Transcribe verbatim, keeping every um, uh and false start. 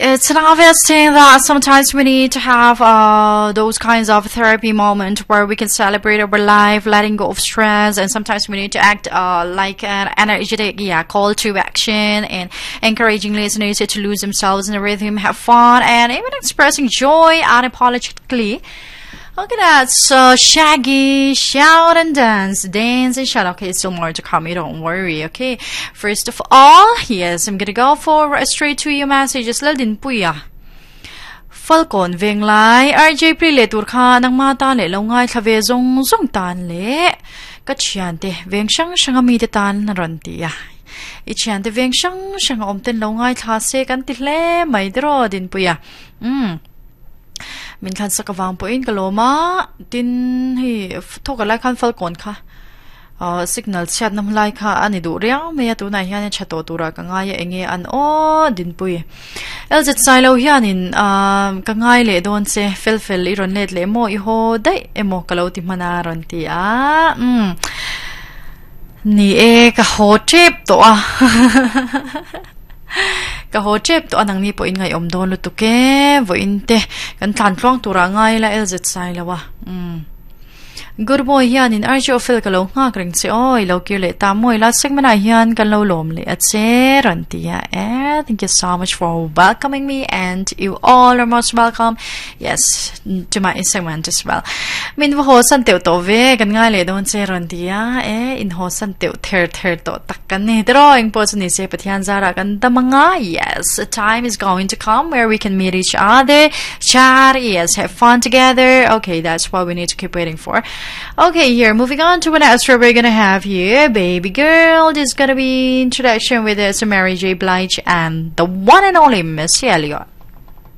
It's an obvious thing that sometimes we need to have uh, those kinds of therapy moment where we can celebrate our life, letting go of stress, and sometimes we need to act uh, like an energetic, yeah, call to action and encouraging listeners to lose themselves in the rhythm, have fun, and even expressing joy unapologetically. Look at that. So Shaggy, shout and dance, dance and shout. Okay, still more to come. You don't worry. Okay. First of all, yes, I'm gonna go for a straight to your messages. Laldinpuia. Falcon Venglai, R J Pri le tur kha nang ma ta le lo ngai thlave zong zong tan le ka thian te veng sang sang ami te tan ron ti ya i thian te veng sang sang om ten lo ngai thla se kan ti hle mai dro din puya um min khan saka wang po in kaloma tin hi thoka lai khan Falcon kha uh, signal chat nam lai kha ani du riau me tu na hian chato tura ka ngai enge an o din pui L Z Sailo hianin uh, ka ngai le don che fel fel i ron let le mo i ho dai emo kalo ti mana ron ti a um ni e ka ho trip to a ka ho chep to anang ni po in ngai om don lu tu ke vo in te kan tlan tluang tura ngai la L Z Sai lawa um Good boy hian in R J Ofel ka lo ngak reng che oi lo kir le ta moi la segment a hian kan lo lom le a che ran tia e. Thank you so much for welcoming me, and you all are most welcome, yes, to my segment as well. Min ho san teu to ve kan ngai le don che ran tia e in ho san teu ther ther to tak kan ni drawing po ni se pathian zara kan damanga. Yes, a time is going to come where we can meet each other, chat, yes, have fun together. Okay, that's what we need to keep waiting for. Okay, here, moving on to what else we're gonna have here. Baby girl, this is gonna be introduction with us, Mary J. Blige and the one and only Missy Elliott.